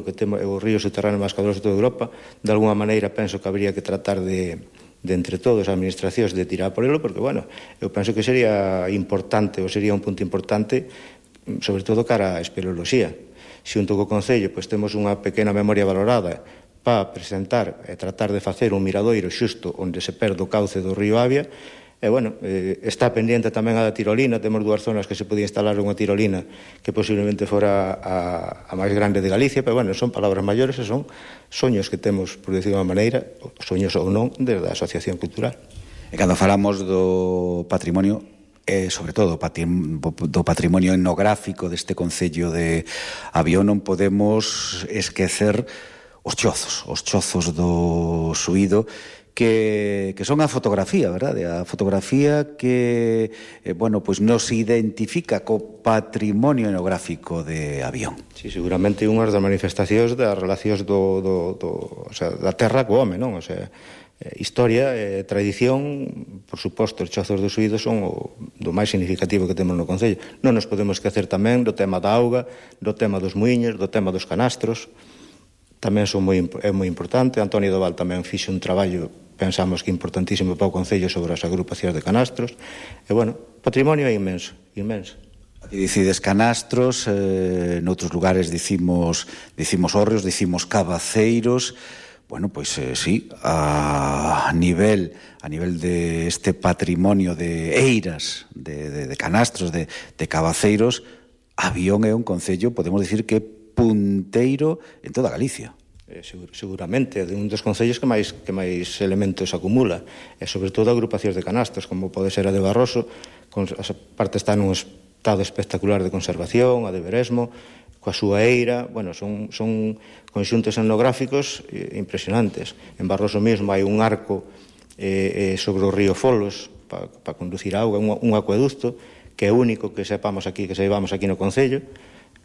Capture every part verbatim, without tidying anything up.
que temos o río subterráneo máis caudaloso de toda Europa, de alguma maneira penso que habría que tratar de, de entre todos as administracións de tirar por ele, porque, bueno, eu penso que sería importante, ou sería un punto importante, sobre todo cara á espeleoloxía. Xunto co Concello, pois temos unha pequena memoria valorada para presentar e tratar de facer un miradoiro xusto onde se perde o cauce do río Avia. E, bueno, eh, está pendiente tamén a da tirolina. Temos dúas zonas que se podía instalar unha tirolina que posiblemente fora a, a máis grande de Galicia, pero, bueno, son palabras maiores e son soños que temos, por decir de unha maneira, soños ou non, desde a Asociación Cultural. E cando falamos do patrimonio, e sobre todo do patrimonio etnográfico deste Concello de Avión, non podemos esquecer os chozos, os chozos do Suído, que, que son a fotografía, verdade? A fotografía que, eh, bueno, pois nos identifica co patrimonio etnográfico de Avión. Sí, seguramente unhas das manifestacións das relacións do, do, do, o sea, da terra co home, non? O sea, eh, historia, eh, tradición, por suposto, os chozos do Suído son o do máis significativo que temos no Concello. Non nos podemos esquecer tamén do tema da auga, do tema dos muiños, do tema dos canastros. Tamén son moi, é moi importante. Antonio Doval tamén fixe un traballo, pensamos que importantísimo para o Concello, sobre as agrupacións de canastros. E, bueno, patrimonio é inmenso, inmenso. Aquí dicides canastros, eh, noutros lugares dicimos, dicimos hórreos, dicimos cabaceiros. Bueno, pois eh, sí, a nivel a nivel de este patrimonio de eiras, de, de, de canastros, de, de cabaceiros, Avión é un concello, podemos dicir que punteiro en toda Galicia. Eh, segur, seguramente, é un dos concellos que máis, que máis elementos acumula, e sobre todo agrupacións de canastros, como pode ser a de Barroso, con, a parte está nun estado espectacular de conservación, a de Veresmo, coa súa eira. Bueno, son, son conxuntos etnográficos eh, impresionantes. En Barroso mesmo hai un arco eh, eh, sobre o río Folos para pa conducir auga, un, un acueducto que é único que sepamos aquí, que sepamos aquí no Concello.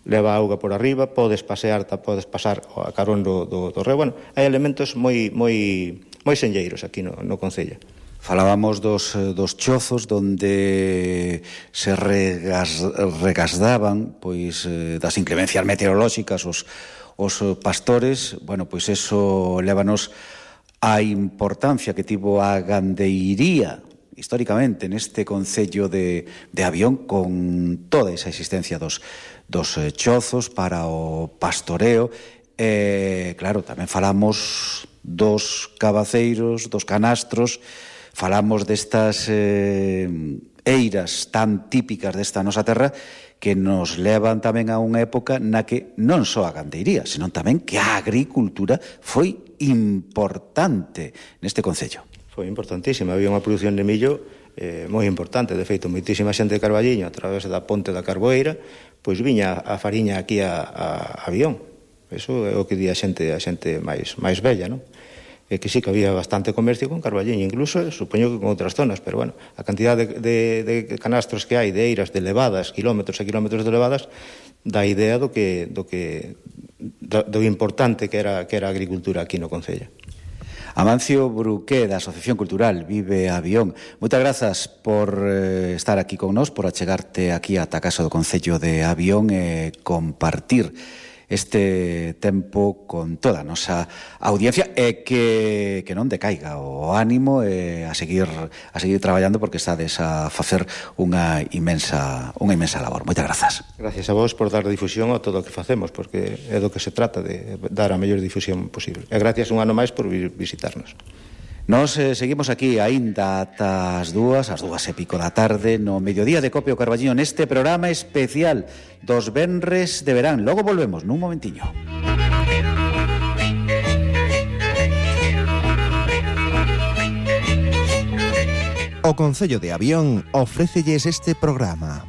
Leva auga por arriba, podes pasear, podes pasar a carón do, do, do reo. Bueno, hai elementos moi, moi, moi senlleiros aquí no, no Concello. Falábamos dos, dos chozos donde se regas, regasdaban pois das inclemencias meteorolóxicas os, os pastores. Bueno, pois eso lévanos a importancia que tivo a gandeiría históricamente neste Concello de, de Avión, con toda esa existencia dos, dos eh, chozos para o pastoreo. E, claro, tamén falamos dos cabaceiros, dos canastros, falamos destas eh, eiras tan típicas desta nosa terra, que nos levan tamén a unha época na que non só a gandeiría, senón tamén que a agricultura foi importante neste Concello. Foi importantísima, había unha produción de millo eh, moi importante. De feito, moitísima xente de Carballiño, a través da ponte da Carboeira, pois viña a fariña aquí a, a Avión. Eso é o que di a xente, a xente máis, máis bella, non? E que sí que había bastante comercio con Carballiño, incluso, supoño que con outras zonas, pero, bueno, a cantidad de, de, de canastros que hai, de eiras, de levadas, kilómetros e kilómetros de levadas, dá idea do que, do que do, do importante que era, que era a agricultura aquí no Concello. Amancio Bruqué, da Asociación Cultural Vive Avión, moitas grazas por eh, estar aquí con nós, por achegarte aquí ata a casa do Concello de Avión e compartir este tempo con toda a nosa audiencia, e que, que non decaiga o ánimo e a seguir a seguir traballando, porque estades a facer unha imensa unha imensa labor. Moitas grazas. Gracias a vos por dar difusión a todo o que facemos, porque é do que se trata, de dar a mellor difusión posible. E gracias un ano máis por vir visitarnos. Nos eh, seguimos aquí aínda ata as dúas, as dúas e pico da tarde, no mediodía de Copio Carballiño, neste programa especial dos venres de verán. Logo volvemos nun momentiño. O Concello de Avión ofrécelles este programa.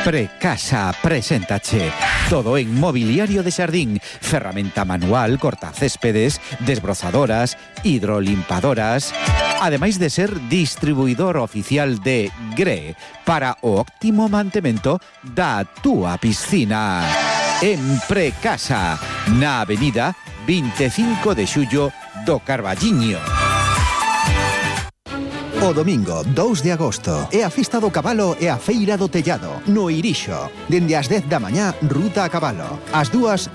Precasa preséntache todo en mobiliario de xardín, ferramenta manual, cortacéspedes, desbrozadoras, hidrolimpadoras, ademais de ser distribuidor oficial de Gre para o óptimo mantemento da túa piscina. En Precasa, na avenida vinte e cinco de xullo do Carballiño. O domingo dous de agosto é a Festa do Cabalo e a Feira do Tellado no Irixo. Dende as dez da mañá, ruta a cabalo. As dúas